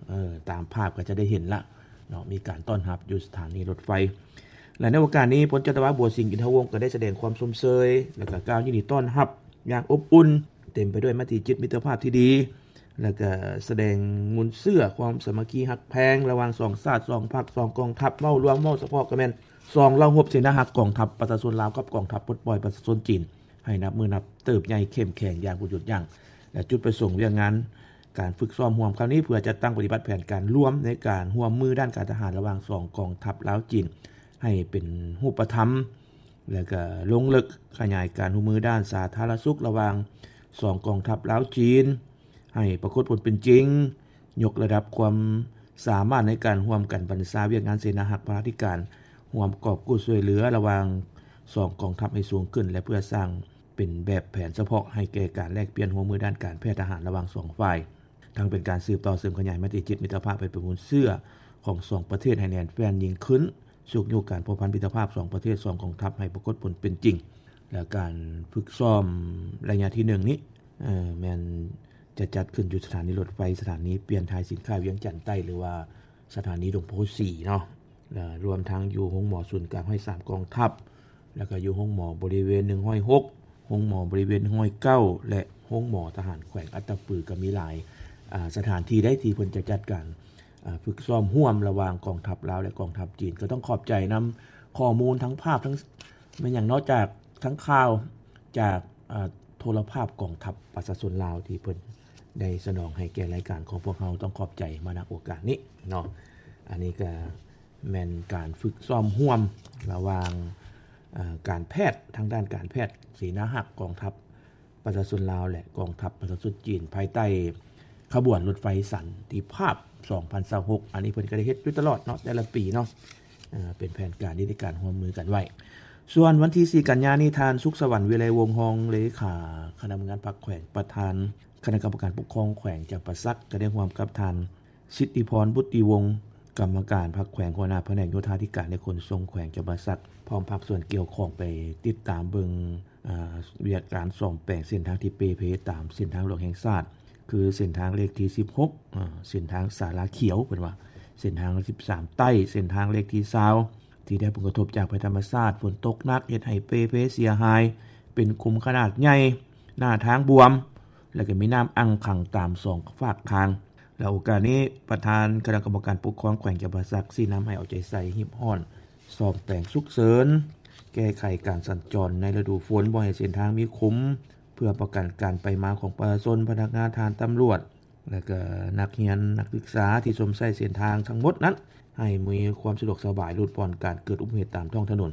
ເອີ ຕາມພາບກໍຈະໄດ້ເຫັນລະເນາະ ມີການຕ້ອນຮັບຢູ່ສະຖານີລົດໄຟ. ແລະ ໃນໂອກາດນີ້ ພົນຈັດຕະວາ ບົວສິງ ອິນທະວົງ ກໍໄດ້ສະແດງຄວາມຊົມເຊີຍ ແລະ ກໍກ່າວຍິນດີຕ້ອນຮັບຢ່າງອົບອຸ່ນ, ເຕັມໄປດ້ວຍມະຕິຈິດມິດຕະພາບທີ່ດີ ແລະ ກໍສະແດງມູນເຊື້ອຄວາມສາມັກຄີຮັກແພງລະຫວ່າງສອງຊາດ, ສອງພັກ, ສອງກອງທັບ, ເວົ້າລວມ, ເວົ້າສະເພາະກໍແມ່ນ ສອງລະບົບເສນາຮັກກອງທັບປະຊາຊົນລາວກັບກອງທັບປົດປ່ອຍປະຊາຊົນຈີນ ໃຫ້ນັບມື້ນັບເຕີບໃຫຍ່ເຂັ້ມແຂງຢ່າງບໍ່ຢຸດຢັ້ງ ແລະ ຈຸດປະສົງວຽກງານການຝຶກຊ້ອມຮ່ວມຄັ້ງນີ້ ເພື່ອຈັດຕັ້ງປະຕິບັດແຜນການລວມໃນການຮ່ວມມືດ້ານການທະຫານລະຫວ່າງສອງກອງທັບລາວ-ຈີນ ໃຫ້ເປັນຮູບປະທຳ ແລະ ກະລົງເລິກຂະຫຍາຍການຮ່ວມມືດ້ານສາທາລະນະສຸກລະຫວ່າງສອງກອງທັບລາວ-ຈີນ ໃຫ້ປາກົດຜົນເປັນຈິງ, ຍົກລະດັບຄວາມສາມາດໃນການຮ່ວມກັນບັນຊາວຽກງານເສນາຮັກພາລາທິການຮ່ວມກອບກູ້ຊ່ວຍເຫຼືອລະຫວ່າງສອງກອງທັບໃຫ້ສູງຂຶ້ນ ແລະ ເພື່ອສ້າງເປັນແບບແຜນສະເພາະໃຫ້ແກ່ການແລກປ່ຽນຮ່ວມມືດ້ານການແພດທະຫານລະຫວ່າງສອງຝ່າຍ, ທັງເປັນການສືບຕໍ່ເສີມຂະຫຍາຍມະຕິຈິດມິດຕະພາບໄປເປັນມູນເຊື້ອຂອງສອງປະເທດໃຫ້ແໜ້ນແຟ້ນຍິ່ງຂຶ້ນ, ຊຸກຍູ້ການພົວພັນມິດຕະພາບສອງປະເທດ, ສອງກອງທັບໃຫ້ປາກົດຜົນເປັນຈິງ. ແລະ ການຝຶກຊ້ອມໄລຍະທີໜຶ່ງນີ້ ເອີ ແມ່ນຈະຈັດຂຶ້ນຢູ່ສະຖານີລົດໄຟ ສະຖານີປ່ຽນຖ່າຍສິນຄ້າວຽງຈັນໃຕ້ ຫຼືວ່າສະຖານີດົງໂພສີເນາະ ແລະ ລວມທັງຢູ່ໂຮງໝໍສູນກາງຮ້ອຍສາມກອງທັບ ແລ້ວກໍຢູ່ໂຮງໝໍບໍລິເວນໜຶ່ງຮ້ອຍຫົກ ໂຮງໝໍບໍລິເວນໜຶ່ງຮ້ອຍເກົ້າ ແລະ ໂຮງໝໍທະຫານແຂວງອັດຕະປື ກໍມີຫຼາຍ ອາ ສະຖານທີ່ໃດທີ່ເພິ່ນຈະຈັດການ ອາ ຝຶກຊ້ອມຮ່ວມລະຫວ່າງກອງທັບລາວ ແລະ ກອງທັບຈີນ. ກໍຕ້ອງຂອບໃຈນຳຂໍ້ມູນທັງພາບ ທັງ ແມ່ນຫຍັງເນາະ ຈາກ ທັງຂ່າວຈາກ ອາ ໂທລະພາບກອງທັບປະຊາຊົນລາວ ທີ່ເພິ່ນໄດ້ສະໜອງໃຫ້ແກ່ລາຍການຂອງພວກເຮົາ. ຕ້ອງຂອບໃຈມາ ນະ ໂອກາດນີ້ເນາະ. ອັນນີ້ກໍແມ່ນການຝຶກຊ້ອມຮ່ວມລະຫວ່າງ ອາ ການແພດ ທາງດ້ານການແພດເສນາຮັກກອງທັບ ປະຊາຊົນລາວ ແລະ ກອງທັບປະຊາຊົນຈີນ ພາຍໃຕ້ຂະບວນລົດໄຟສັນຕິພາບສອງພັນຊາວຫົກ. ອັນນີ້ເພິ່ນກໍໄດ້ເຮັດຢູ່ຕະຫຼອດເນາະ ແຕ່ລະປີເນາະ ເປັນແຜນການທີ່ໃນການຮ່ວມມືກັນໄວ້. ສ່ວນວັນທີສີ່ກັນຍານີ້ ທ່ານ ສຸກສະຫວັນ ວິໄລວົງ ຮອງເລຂາຄະນະເມືອງງານພັກແຂວງ ປະທານຄະນະກຳມະການປົກຄອງແຂວງຈຳປາສັກ ກໍໄດ້ຮ່ວມກັບທ່ານ ສິດທິພອນ ບຸດຕິວົງ ກຳມະການພັກແຂວງ ຫົວໜ້າພະແນກໂຍທາທິການ ແລະ ຂົນສົ່ງແຂວງຈຳປາສັກ ພ້ອມພາກສ່ວນກ່ຽວຂ້ອງໄປຕິດຕາມເບິ່ງ ອາ ວຽກການສ້ອມແປງເສັ້ນທາງທີ່ເປ່ເພຕາມເສັ້ນທາງຫຼວງແຫ່ງຊາດ ຄືເສັ້ນທາງເລກທີສິບຫົກ ອາ ເສັ້ນທາງສາລາຂຽວ ເພິ່ນວ່າ ເສັ້ນທາງສິບສາມໃຕ້ ເສັ້ນທາງເລກທີຊາວ ທີ່ໄດ້ຮັບຜົນກະທົບຈາກໄພທຳມະຊາດ ຝົນຕົກໜັກເຮັດໃຫ້ເປ່ເພເສຍຫາຍ ເປັນຂຸມຂະໜາດໃຫຍ່ ໜ້າທາງບວມ ແລະ ກໍມີນ້ຳອັ່ງຂັງຕາມສອງຟາກທາງ. ແລະ ໂອກາດນີ້ ປະທານຄະນະກຳມະການປົກຄອງແຂວງຈຳປາສັກ ຊີ້ນຳໃຫ້ເອົາໃຈໃສ່ຮີບຮ້ອນສ້ອມແປງສຸກເສີນ ແກ້ໄຂການສັນຈອນໃນລະດູຝົນ ບໍ່ໃຫ້ເສັ້ນທາງມີຂຸມ ເພື່ອປ້ອງກັນການໄປມາຂອງປະຊາຊົນ, ພະນັກງານ, ທະຫານ, ຕຳຫຼວດ ແລະ ກໍນັກຮຽນນັກສຶກສາທີ່ຊົມໃຊ້ເສັ້ນທາງທັງໝົດນັ້ນ ໃຫ້ມີຄວາມສະດວກສະບາຍ ຫຼຸດຜ່ອນການເກີດອຸບັດຕິເຫດຕາມທ້ອງຖະໜົນ.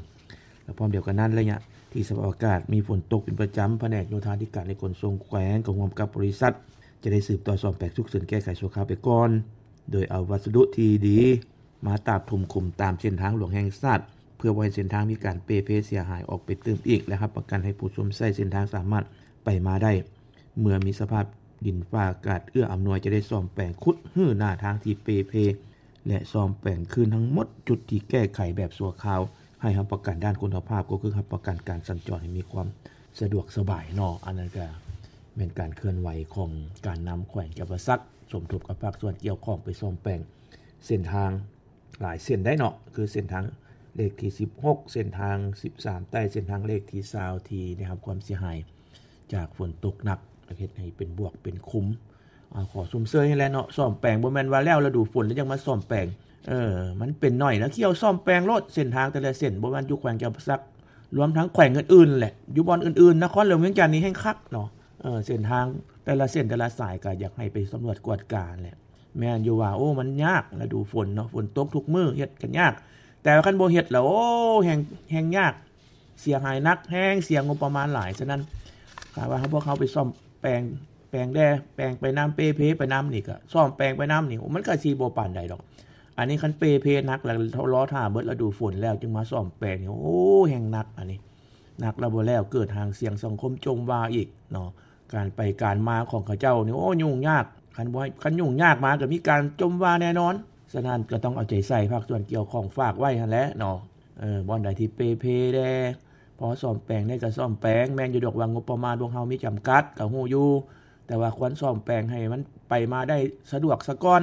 ແລະ ພ້ອມດຽວກັນນັ້ນ ໄລຍະທີ່ສະພາບອາກາດມີຝົນຕົກເປັນປະຈຳ, ພະແນກໂຍທາທິການ ແລະ ຂົນສົ່ງແຂວງ ກໍຮ່ວມກັບບໍລິສັດ ຈະໄດ້ສືບຕໍ່ສ້ອມແປງສຸກເສີນແກ້ໄຂຊົ່ວຄາວໄປກ່ອນ ໂດຍເອົາວັດສະດຸທີ່ດີມາຕາບຖົມຂຸມຕາມເສັ້ນທາງຫຼວງແຫ່ງຊາດ ເພື່ອບໍ່ໃຫ້ເສັ້ນທາງມີການເປ່ເພເສຍຫາຍອອກໄປຕື່ມອີກ ແລະ ຮັບປະກັນໃຫ້ຜູ້ຊົມໃຊ້ເສັ້ນທາງສາມາດໄປມາໄດ້. ເມື່ອມີສະພາບດິນຟ້າອາກາດເອື້ອອຳນວຍ ຈະໄດ້ສ້ອມແປງຂຸດຮື້ໜ້າທາງທີ່ເປ່ເພ ແລະ ສ້ອມແປງຄືນທັງໝົດຈຸດທີ່ແກ້ໄຂແບບຊົ່ວຄາວ ໃຫ້ຮັບປະກັນດ້ານຄຸນນະພາບ ກໍຄືຮັບປະກັນການສັນຈອນໃຫ້ມີຄວາມສະດວກສະບາຍເນາະ. ອັນນັ້ນກໍແມ່ນການເຄື່ອນໄຫວຂອງການນຳແຂວງຈຳປາສັກ ສົມທົບກັບພາກສ່ວນກ່ຽວຂ້ອງໄປສ້ອມແປງເສັ້ນທາງ ຫຼາຍເສັ້ນໄດ໋ເນາະ ຄືເສັ້ນທາງເລກທີສິບຫົກ ເສັ້ນທາງສິບສາມໃຕ້ ເສັ້ນທາງເລກທີຊາວ ທີ່ໄດ້ຮັບຄວາມເສຍຫາຍຈາກຝົນຕົກໜັກ ແລະ ເຮັດໃຫ້ເປັນບວກເປັນຂຸມ. ອາ ຂໍຊົມເຊີຍໃຫ້ແຫຼະເນາະ ສ້ອມແປງ ບໍ່ແມ່ນວ່າແລ້ວລະດູຝົນແລ້ວຈັ່ງມາສ້ອມແປງ. ເອີ ມັນເປັນໜ້ອຍນະ ຂ້ຽວສ້ອມແປງໂລດ ເສັ້ນທາງແຕ່ລະເສັ້ນ ບໍ່ແມ່ນຢູ່ແຂວງຈຳປາສັກ ລວມທັງແຂວງອື່ນໆແຫຼະ ຢູ່ບ່ອນອື່ນໆ ນະຄອນຫຼວງວຽງຈັນນີ້ແຮ່ງຄັກເນາະ. ເອີ ເສັ້ນທາງແຕ່ລະເສັ້ນແຕ່ລະສາຍ ກໍຢາກໃຫ້ໄປສຳຫຼວດກວດກາແຫຼະ. ແມ່ນຢູ່ວ່າ ໂອ້ ມັນຍາກລະດູຝົນເນາະ ຝົນຕົກທຸກມື້ ເຮັດກໍຍາກ ແຕ່ວ່າຄັນບໍ່ເຮັດລະ ໂອ້ ແຮ່ງ ແຮ່ງຍາກ ເສຍຫາຍໜັກແຮງ ເສຍງົບປະມານຫຼາຍ. ສະນັ້ນ ຖ້າວ່າເຮົາ ພວກເຮົາໄປສ້ອມແປງ ແປງແດ່ ແປງໄປນຳ ເປ່ເພໄປນຳນີ້ ກໍສ້ອມແປງໄປນຳນີ້ ໂອ້ ມັນກໍຊິບໍ່ປານໃດດອກ. ອັນນີ້ຄັນເປ່ເພໜັກແລ້ວ ລໍຖ້າເບິດລະດູຝົນແລ້ວຈຶ່ງມາສ້ອມແປງນີ້ ໂອ້ ແຮ່ງໜັກ ອັນນີ້ໜັກແລ້ວບໍ່ແລ້ວ ເກີດຫາງສຽງສັງຄົມຈົ່ມວ່າອີກເນາະ. ການໄປການມາຂອງເຂົາເຈົ້ານີ້ ໂອ້ ຫຍຸ້ງຍາກ ຄັນບໍ່ໃຫ້ ຄັນຫຍຸ້ງຍາກມາກໍມີການຈົ່ມວ່າແນ່ນອນ. ສະນັ້ນກໍຕ້ອງເອົາໃຈໃສ່ ພາກສ່ວນກ່ຽວຂ້ອງຝາກໄວ້ຫັ້ນແຫຼະເນາະ. ເອີ ບ່ອນໃດທີ່ເປ່ເພແດ່ ພໍສ້ອມແປງໄດ້ກໍສ້ອມແປງ. ແມ່ນຢູ່ດອກວ່າງົບປະມານພວກເຮົາມີຈຳກັດ ກໍຮູ້ຢູ່ ແຕ່ວ່າຄວນສ້ອມແປງໃຫ້ມັນໄປມາໄດ້ສະດວກສາກ່ອນ